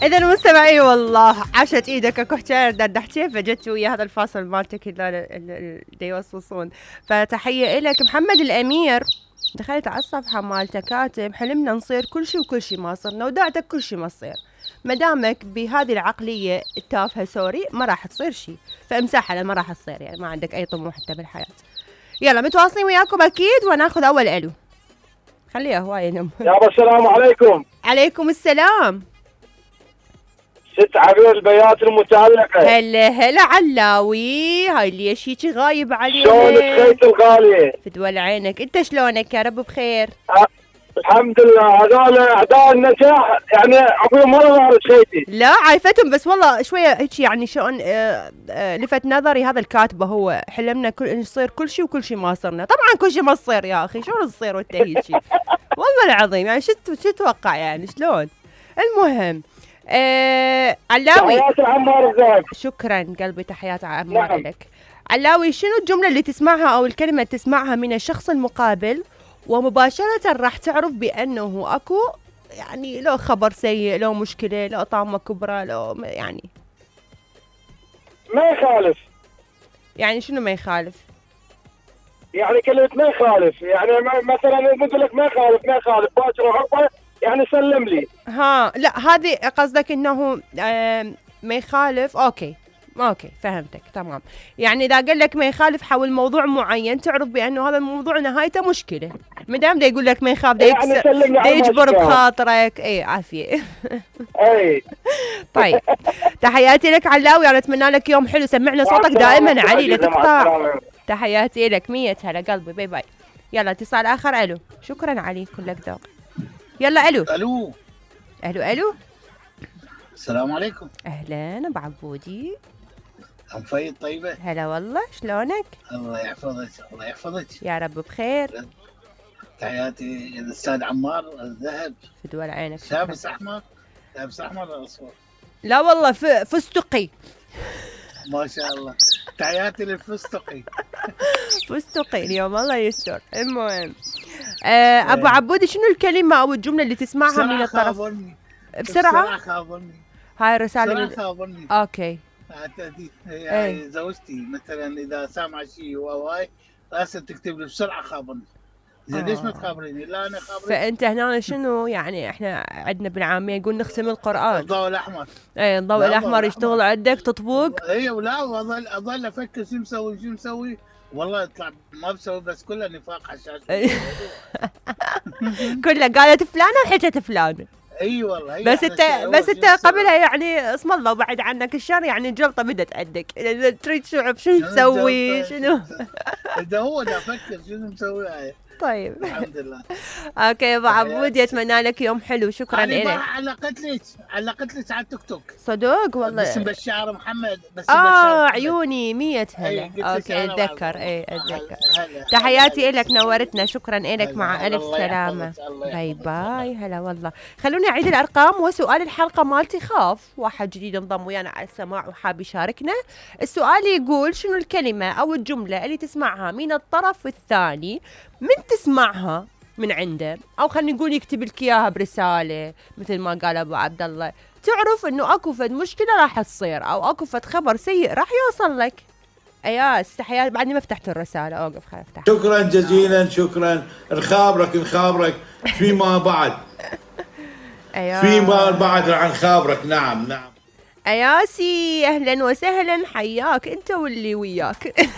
اذا مستمعي والله عاشت ايدك اكو حجار دردحتي فجت ويا هذا الفاصل مالتك اللي يوصصون. فتحيه لك محمد الامير. دخلت على الصفحه مالته كاتب حلمنا نصير كل شيء وكل شيء ما صرنا، ودعتك كل شيء ما تصير. ما دامك بهذه العقليه التافهه سوري ما راح تصير شيء، فامسحها لان ما راح تصير، يعني ما عندك اي طموح انت بالحياه. يلا متواصلين وياكم اكيد وناخذ اول الو. خليها هوايه نم. يابا السلام عليكم. عليكم السلام. ست عبير البيات المتعلقة. هلا علاوي، هاي ليش هيك غايب علينا؟ شلونك خيت الغالية؟ فدول عينك، انت شلونك يا رب بخير؟ الحمد لله. هذول اعداء النجاح يعني ابوي مرة ما خيتي. لا عايفتهم بس والله شوية هيك يعني شلون لفت نظري هذا الكاتبه هو حلمنا نصير كل شيء وكل شيء ما صرنا، طبعا كل شيء ما تصير يا اخي، شلون تصير وانت هيك؟ والله العظيم يعني شو تتوقع يعني شلون؟ المهم علاوي. تحيات عمار الزاهد. شكرا قلبي، تحيات عمار لك. علاوي، شنو الجملة اللي تسمعها او الكلمة اللي تسمعها من الشخص المقابل ومباشرة راح تعرف بانه اكو يعني لو خبر سيء، لو مشكلة، لو طامة كبرى، لو يعني ما يخالف. يعني شنو ما يخالف؟ يعني كلمة ما يخالف، يعني مثلا يقول لك ما يخالف باكر وعقبه يعني سلم لي. ها لا هذه قصدك انه ما يخالف. اوكي فهمتك تمام. يعني اذا قال لك ما يخالف حول موضوع معين تعرف بانه هذا الموضوع نهايته مشكله، ما دام يقول لك ما يخاف يعني يجبر بخاطرك. اي عافيه. اي طيب تحياتي لك علاوي، انا اتمنى لك يوم حلو، سمعنا صوتك دائما علي لا تقطع. تحياتي لك 100 هلا قلبي، باي باي. يلا اتصال اخر. الو. شكرا علي كلك ذوق. يلا الو. السلام عليكم. اهلا ابو عبودي. ام فايد طيبه؟ هلا والله، شلونك؟ الله يحفظك يا رب بخير. تحياتي الاستاذ عمار الذهب. فدول عينك. لابس احمر ولا اصفر؟ لا والله فستقي. ما شاء الله. تحياتي للفستقي. فستقي اليوم الله يستر. المهم ابو عبودي، شنو الكلمه او الجمله اللي تسمعها من الطرف؟ بسرعه خابرني. هاي الرساله خابرني. اوكي. يعني زوجتي مثلا اذا سامعه شيء وهاي لازم تكتب لي بسرعه خابرني. زين ليش ما تخابريني؟ لا انا خابريني. فانت هنا شنو يعني احنا عندنا بالعاميه نقول نختم القران. الضوء الاحمر. اي الضوء الاحمر يشتغل عندك تطبق. اي ولا اظل افكر شو مسوي والله يطلع ما بسوي، بس كله نفاق حشاش. كله قالت فلانه وحكت فلانه. اي والله. بس انت قبلها يعني اسم الله وبعد عنك الشر، يعني الجلطه بدت عندك تريد شو تسوي شنو. ده هو ده افكر شنو مسوي هاي. طيب الحمد لله. اوكي ابو عبودي، اتمنى لك يوم حلو. شكرا لك. علقت لك على التيك توك صدق والله. باسم بشار محمد. عيوني 100 هلا. اوكي اتذكر. اتذكر. تحياتي لك، نورتنا. شكرا لك، مع الف سلامه. باي باي. هلا والله. خلوني اعيد الارقام وسؤال الحلقه مالتي. خاف واحد جديد انضم ويانا على السماع وحاب يشاركنا. السؤال يقول شنو الكلمه او الجمله اللي تسمعها من الطرف الثاني من تسمعها من عنده، او خلينا نقول يكتب لك اياها برساله مثل ما قال ابو عبد الله، تعرف انه اكو فد مشكله راح تصير او اكو فد خبر سيء راح يوصل لك. اياس تحيات. بعدني ما فتحت الرساله، اوقف خليني افتح. شكرا جزيلا. شكرا. نخابرك فيما بعد. فيما بعد راح نخابرك. نعم. اياسي اهلا وسهلا، حياك انت واللي وياك.